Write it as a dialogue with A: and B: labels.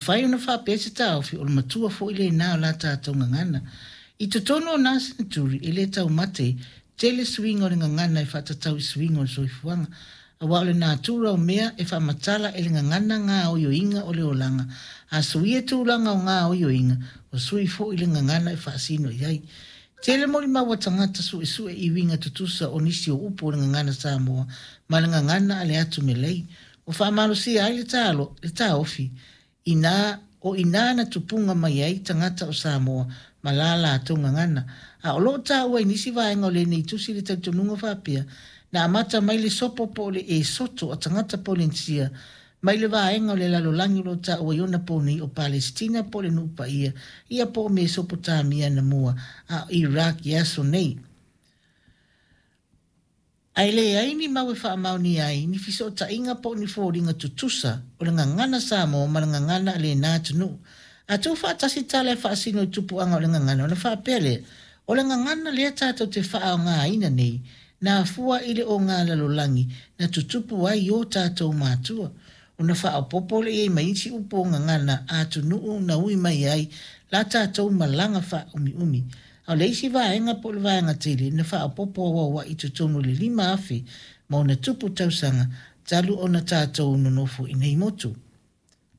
A: Mafai ona faapea se taofi o le matua foi lena o la tatou gagana. I totonu o na seneturi e le taumate tele suiga o le gagana e faatatau i suiga o le soifuaga, aua o le natura o mea e faamatala e le gagana gaoioiga o le olaga. A suia tulaga o gaoioiga, ua sui foi le gagana e faasino i ai. Tele molimau a tagata suesue i uiga tutusa o nisi o upu o le gagana Samoa ma le gagana a le atu Melei, ua faamalosia ai le taofi inā o i ina na tupuga mai ai tagata o Samoa ma la latou gagana. A o lo o taua i nisi vaega o lenei tusi le talitonuga faapea, na amata mai le sopo po o le esoto a tagata Polenisia mai le vaega o le lalolagi o lo o taua i ona po nei o Palesitina po o le Nuu Paia ia po o Mesopotamia anamua, a o Iraq i aso nei. Ae leai ni mau e faamaonia ai ni fesootaiga po o ni foliga tutusa o le gagana Samoa ma le gagana a lena atunuu. A tuufaatasi tala e faasino i tupuaga o le gagana ona faapea lea, o le gagana lea tatou te faaaogaina nei, na afua i le ogalalolagi na tutupu ai o tatou matua. Ona faaopoopo lea i ai ma isi upu o gagana a atunuu na ui mai ai la tatou malaga faaumiumi. A o le isi vaega po o le vaega tele na faaopoopo auauai i totonu o le 5,000 ma ona tupu tausaga talu ona tatou nonofo i nei motu.